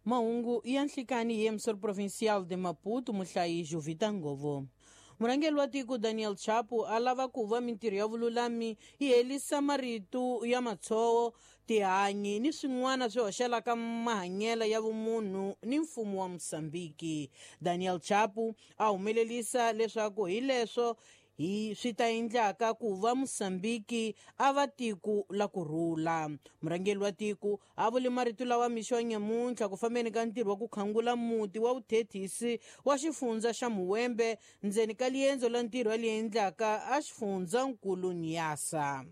Mahungu ya nhlikani hi emissor provincial de Maputo, muhlayi Jovita Ngovo. Murhangeri wa tiko Daniel Chapo a lava ku va mintirho ya vululami yi helisa marito ya matshowo, tihanyi ni swin'wana swi hoxelaka mahanyelo ya vumunhu ni mfumo wa Mosambiki. Daniel Chapo a humelelisa leswaku hi leswo hi swi ta endlaka ku va Mosambiki a va tiko la ku rhula. Murhangeri wa tiko a vule marito lawa mixo wa nyamuntlha ku fambeni ka ntirho wa ku khangula muti wa vuthethisi wa xifundza xa Muwembe ndzeni ka liendzo la ntirho li endlaka a xifundzankulu Niassa.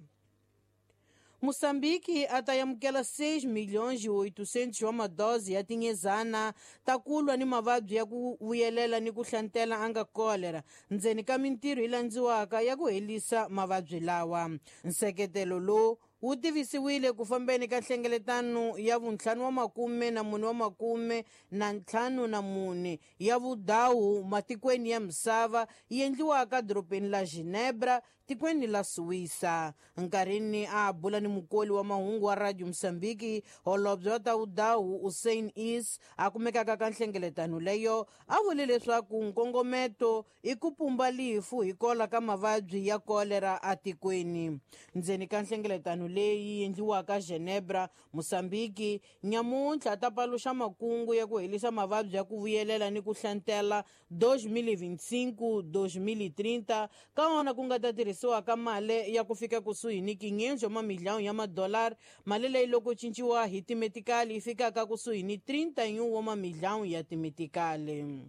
Moçambique a ta amukela 6 milhões e 800 wa madozi ya tinyezana ta ku lwa ni mavabyi ya ku vuyelela ni ku hlantela a nga kolera ndzeni ka mintirho yi landziwaka ya ku helisa mavabyi lawa. Nseketelo lowu wu tivisiwile ku fambeni ka nhlengeletano ya vuntlhanu wa makume na mune wa makume na ntlhanu na mune ya vudawu matikweni ya misava yi endliwaka dorobeni la Ginebra, tikweni la Suwisa. Nkarhini a bula ni mukoli wa mahungu wa Radio Mosambiki, holobye wa ta vudawu Hussein Is a kumekaka ka nhlengeletano leyo a vule leswaku nkongometo i ku pumba lifu hi kola ka mavabyi ya kolera atikweni. Ndzeni ka nhlengeletano leyi endliwaka Genebra, Mosambiki nyamuntlha ta paluxa makungu ya ku helisa mavabyi ya ku vuyelela ni ku hlantela 2025-2030 ka wona ku nga ta tirhisiwa ka mali ya ku fika kusuhi ni 500 wa mamiliyoni ya madolari, mali leyi loko cinciwa hi timetikali yi fikaka kusuhi ni 31 wa mamiliyoni ya timetikali.